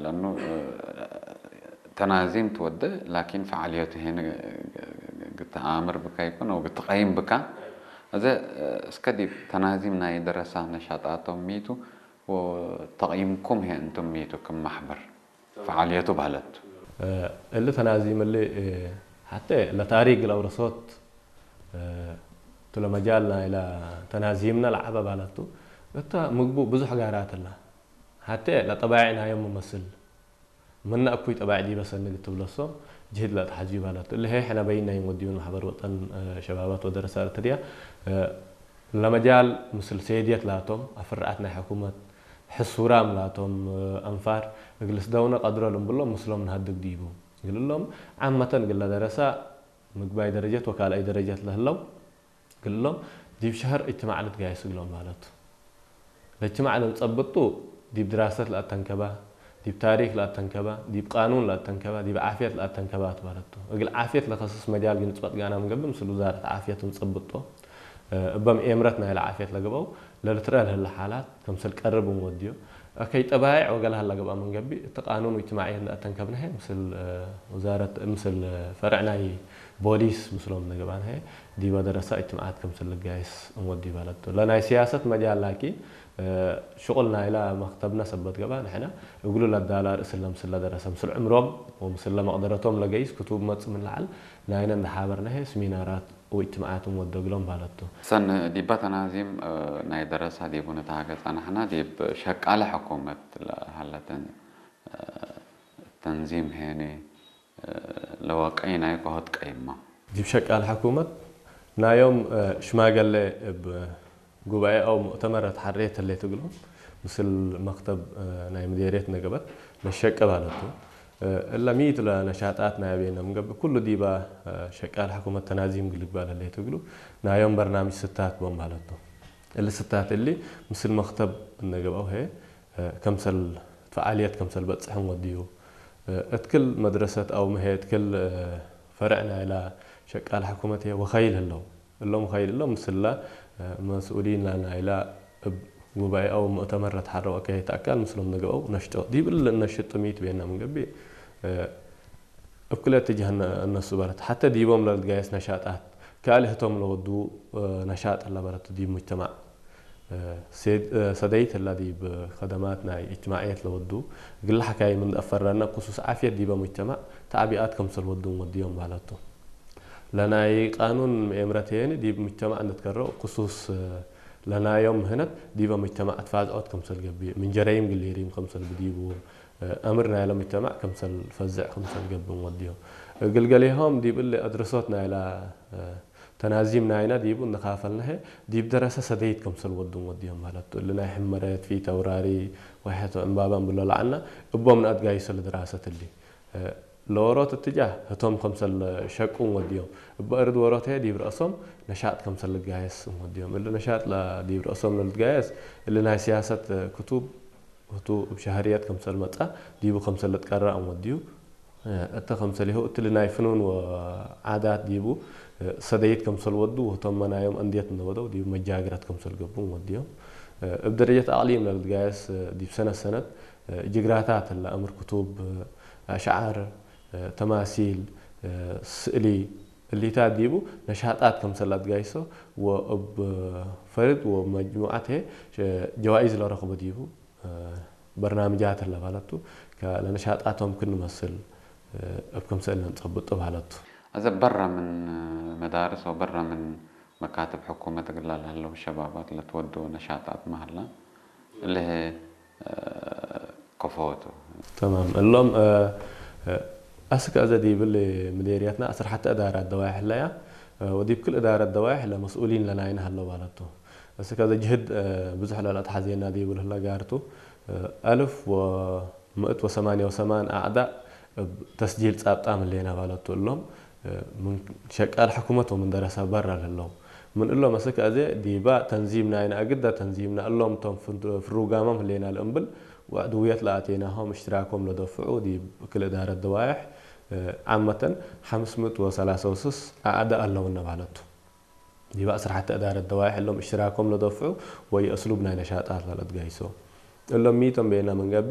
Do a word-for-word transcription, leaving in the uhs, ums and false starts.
ለእኑ፣ እ፣ ተናዚም ትወዴ፣ ላኪን ፈዓልየቱ ሄነ ግትአምር ብካ ይኩን አው ግትቀይም ብካ። እዘ፣ እ፣ እስከ ዲብ ተናዚም ናይ ደረሳ ነሻጣቶም ሚቱ ወተቅይምኩም ህዬ እንቱም ሚቱ ክም ማሕበር ፈዓልየቱ በህለት። እ፣ እሊ ተናዚም እሊ፣ እ፣ ሐቴ ለታሪክ ለአውረሶት፣ እ፣ ቱ ለመጃል ናይለ ተናዚምነ ለዐበ በህለቱ። እተ ምግቡ ብዙሕ ጋራት እለ። ሐቴ ለጠባይዕ ናዮም መመስል። ምነ እኩይ ጠባይዕ ዲበ ሰኒ እግል ትብለሶም ጅህድ ለአትሐዝዩ በህለት። እሊ ህዬ ሕነ በይን ናይ እንወድዩ ማሕበር ወጠን፣ እ፣ ሸባባት ወደረሰ ኤረትርያ፣ እ፣ ለመጃል ምስል ሴድየት ላቶም፣ አፍርዐት ናይ ሕኩመት፣ ሕሱራም ላቶም፣ እ፣ አንፋር እግል ልስደውነ ቀድሮ ልንብሎም ምስሎም ነሀድግ ዲቡ። እግል እሎም ዓመተን እግል ለደረሰ ምግባይ ደረጀት ወካልኣይ ደረጀት ለህለው፣ እግሎም ዲብ ሸሀር እጅትማዕ ልትጋየስ እግሎም ማለት ቱ። ለእጅትማዕ ለልጸብጡ ዲብ ድራሰት ለአተንከበ፣ ዲብ ታሪክ ለአተንከበ፣ ዲብ ቃኑን ለአተንከበ፣ ዲብ ዓፍየት ለአተንከበ ቱ ማለት ቱ። እግል ዓፍየት ለከስስ መጃል ግን ንጽበጥ ጋና ምንገብእ ምስል ውዛረት ዓፍየት እንጸብጦ። እበ ምኤምረት ናይለ ዓፍየት ለገብአው ለልትረአ ለህለ ሓላት ከምሰል ቀርብ እንወድዮ። አከይ ጠባይዕ ወገለ ሀላ ገብአ ምንገብእ፣ እት ቃኑን ወእጅትማዕየት እንደ አተንከብነ ህዬ፣ ምስል፣ እ፣ ውዛረት፣ ምስል ፈርዕ ናይ ቦሊስ ምስሎም እንደ ገብአነ ህዬ፣ ዲበ ደረሳ እጅትማዓት ከምስል ልጋይስ እንወድዩ በህለት ቱ። ለናይ ሲያሰት መጃል ላኪን፣ እ፣ ሽቁል ናይለ መክተብነ ሰበት ገብአ፣ ንሕነ እግሉ ለዳላ ርእስ እለ ምስል ለደረሰ፣ ምስል ዕምሮም ወምስል ለመቅደረቶም ለገይስ ክቱብ መጽእ ምን ለዐል ናይነ እንደ ሓበርነ ህዬ፣ ስሚናራት ወእጅትማዓት እንወዶ እግሎም በህለት ቱ። ሰኒ ዲበ ተናዚም፣ እ፣ ናይ ደረሳ ዲቡ ንትሃጌ ጸናሕነ፣ ዲብ ሸቃለ ሕኩመት ለሀለትን፣ እ፣ ተንዚም ሄኒ፣ እ፣ ለወቀይ ናይ ከሆት ቀይማ። ዲብ ሸቃለ ሕኩመት ናዮም፣ እ፣ ሽማገሌ እብ ጉባኤ አው ሙእተመር ተሐሬት ህሌት እግሎም፣ ምስል መክተብ፣ እ፣ ናይ ምዴርየት ነገበት ለሸቀ በህለት ቱ። እ፣ እለ ሚት ለነሻጣት ናይ ቤነ ምንገብእ፣ ኩሉ ዲበ፣ እ፣ ሸቃል ሕኩመት ተናዚም እግል ልግባእ ለህሌት እግሉ፣ ናዮም በርናምጅ ስታት ቦም በህለት ቱ። እሊ ስታት እሊ ምስል መክተብ እነ ገብአው ህዬ፣ እ፣ ከምሰል ፈዓልየት ከምሰል በጽሕ እንወድዩ። እ፣ እት ክል መድረሰት አው ምሄ እት ክል፣ እ፣ ፈርዕ ናይለ ሸቃል ሕኩመት ህዬ ወከይል ህለው። እሎም ከይል እሎም ምስለ፣ እ፣ መስኡሊን ናይላ እብ ጉባኤ አው ሙእተመር ለትሐረው አካይት አካል ምስሎም ንግአው ነሽጦ። ዲብ እሊ እነሽጡ ሚት ቤና ምን ገብእ፣ እ፣ እብ ክልኤ እትጃህ እነ-፣ እነሱ በለት። ሐተ ዲቦም ለልትጋየስ ነሻጣት፣ ካልእ ህቶም ለወዱ፣ እ፣ ነሻጥ እለ በለት ዲብ ሙጅተማዕ፣ እ፣ ሴድ-፣ እ፣ ሰደይት እለ ዲብ ከደማት ናይ እጅትማዕየት ለወዱ፣ እግለ ሐካይም እንደ አፈረነ ክሱስ ዓፍየት ዲበ ሙጅተማዕ ተዕቢኣት ከምሰል ወዱ እንወድዮም በለቱ። ለናይ ቃኑን ምኤምረት ሄኒ ዲብ ሙጅተማዕ እንድትከረው ክሱስ ለናዮም ምህነት ዲበ ሙጅተማዕ ትፋዝዖት ከምሰል ገብእ፣ ምን ጀረይም ግሊሪም ከምሰል ብዲቡ፣ አምር ናይለ ሙጅተማዕ ከምሰል ፈዝዕ ከምሰል ገብእ እንወድዮም። እግል ገሌሆም ዲብ እሊ አድረሶት ናይለ ተናዚም ናይነ ዲቡ እንካፈልነ ህዬ፣ ዲብ ደረሰ ሰደይት ከምሰል ወዱ እንወድዮም በለቱ። እሊ ናይ ሕመረት፣ ፊት አውራሪ፣ ወሐቶ ዕንባባ እንብሎ ለዐልነ፣ እቦም ነአትጋይሶ ለድራሰት እሊ። ለወሮት እትጃህ ህቶም ከምሰል ሸቁ እንወድዮም። እበ እርድ ወሮት ህዬ ዲብ ረአሶም ነሻጥ ከምሰል ልጋየስ እንወድዮም። እሊ ነሻጥ ለዲብ ረአሶም ለልትጋየስ፣ እሊ ናይ ሲያሰት ክቱብ ህቱ እብ ሸህርየት ከምሰል መጽአ፣ ዲቡ ከምሰል ልትቀረእ እንወድዩ። እተ ከምሰሌሁ እትሊ ናይ ፍኑን ወዓዳት ዲቡ ሰደይት ከምሰል ወዱ፣ ወህቶም መናዮም አንድየት እንደ ወደው ዲቡ መጃግረት ከምሰል ገብኡ እንወድዮም። እብ ደረጀት አቅሊም ለልትጋየስ ዲብ ሰነት ሰነት ጅግራታት እለ አምር ክቱብ፣ አሽዓር፣ ተማሲል፣ ስእሊ፣ እሊታት ዲቡ ነሻጣት ከምሰል ለአትጋይሶ ወእብ ፈርድ ወመጅሙዓት ህዬ ጀዋኢዝ ለረክቦ ዲቡ በርናምጃት እለ በለቱ፣ ከ-፣ ለነሻጣቶም ክን መስል እብ ክምሰል ለንጸብጦ በለቱ። አዘ በረ ምን መዳርስ ወበረ ምን መካትብ ሕኩመት እግል ለህለው ሸባባት ለትወደው ነሻጣት መሀላ እለ ህዬ ከፎቱ። ተማም። እሎም፣ እ፣ እ፣ አስክ አዘ ዲብል ምዴርየትና ዐስር ሐተ እዳራት ደዋይሕ ህለያ፣ እ፣ ወዲብ ክል እዳረት ደዋይሕ ለመስኡሊን ለናይነ ሀለው በለቱ። አስክ አዘ ጅህድ፣ እ፣ ብዙሕ ለለአትሐዜና ዲብል ህለ ጋርቱ፣ እ፣ አልፍ ወምእት ወሰማንየ ወሰማን አዕዳእ እብ ተስጂል ጻብጣም ህሌና በለቱ። እሎም፣ እ፣ ምን ሸቃል ሕኩመት ወምን ደረሰ በረ ለህለው። ምን እሎም አስክ አዜ ዲባ ተንዚም ናይነ አግደ ተንዚምና እሎም ቶም ፍን-፣ ፍሩጋሞም ህሌና ለእምብል ወዕድውየት ለአቴናሆም እሽትራኮም ለደፍዑ ዲብ ክል እዳረት ደዋይሕ፣ እ፣ ዓመተን ሐምስ ምእት ወሰላሰ ወስስ አዕዳእ አለውነ በለቱ። ዲብ ዐስር ሐተ እዳረት ደዋይሕ እሎም እሽትራኮም ለደፍዑ ወይ አስሉብ ናይ ነሻጣት ለለትጋይሶ። እሎም ሚቶም ቤና ምን ገብእ፣